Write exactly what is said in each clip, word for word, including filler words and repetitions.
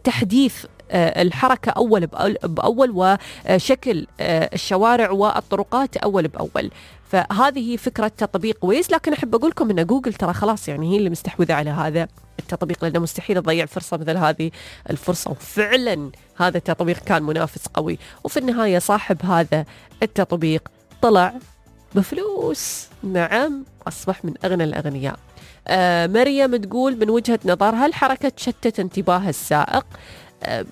تحديث الحركة أول بأول وشكل الشوارع والطرقات أول بأول. فهذه فكرة تطبيق ويز. لكن أحب أقول لكم أن جوجل ترى خلاص يعني هي اللي مستحوذة على هذا التطبيق، لأنه مستحيل تضيع فرصة مثل هذه الفرصة. وفعلا هذا التطبيق كان منافس قوي، وفي النهاية صاحب هذا التطبيق طلع بفلوس. نعم، أصبح من أغنى الأغنياء. آه مريم تقول من وجهة نظرها الحركة تشتت انتباه السائق. آه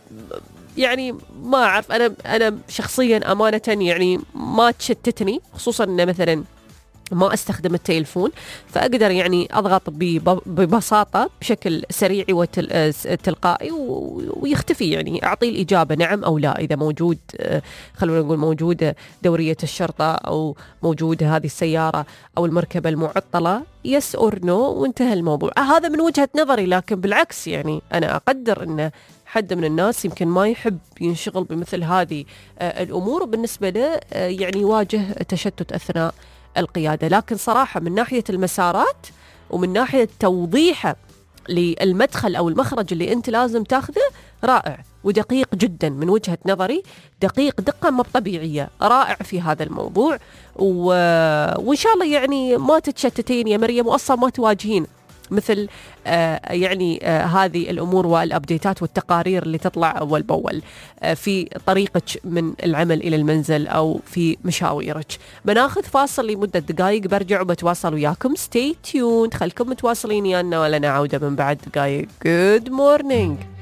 يعني ما أعرف، أنا أنا شخصيا أمانة يعني ما تشتتني، خصوصا أن مثلا ما أستخدم التليفون، فأقدر يعني أضغط ببساطة بشكل سريع وتلقائي ويختفي، يعني أعطي الإجابة نعم أو لا. إذا موجود خلونا نقول موجودة دورية الشرطة أو موجودة هذه السيارة أو المركبة المعطلة يس أور نو وانتهى الموضوع. هذا من وجهة نظري. لكن بالعكس يعني أنا أقدر أن حد من الناس يمكن ما يحب ينشغل بمثل هذه الأمور، وبالنسبة له يعني يواجه تشتت أثناء القيادة. لكن صراحة من ناحية المسارات ومن ناحية توضيحه للمدخل أو المخرج اللي أنت لازم تاخذه رائع ودقيق جدا من وجهة نظري، دقيق دقة ما طبيعية، رائع في هذا الموضوع. و... وإن شاء الله يعني ما تتشتتين يا مريم، وأصلا ما تواجهين مثل آه يعني آه هذه الأمور والأبديتات والتقارير اللي تطلع أول بأول آه في طريقك من العمل إلى المنزل أو في مشاويرك. بناخذ فاصل لمدة دقائق، برجع وبتواصل وياكم. stay tuned، خلكم متواصلين يانا ولنا عودة من بعد دقائق. good morning.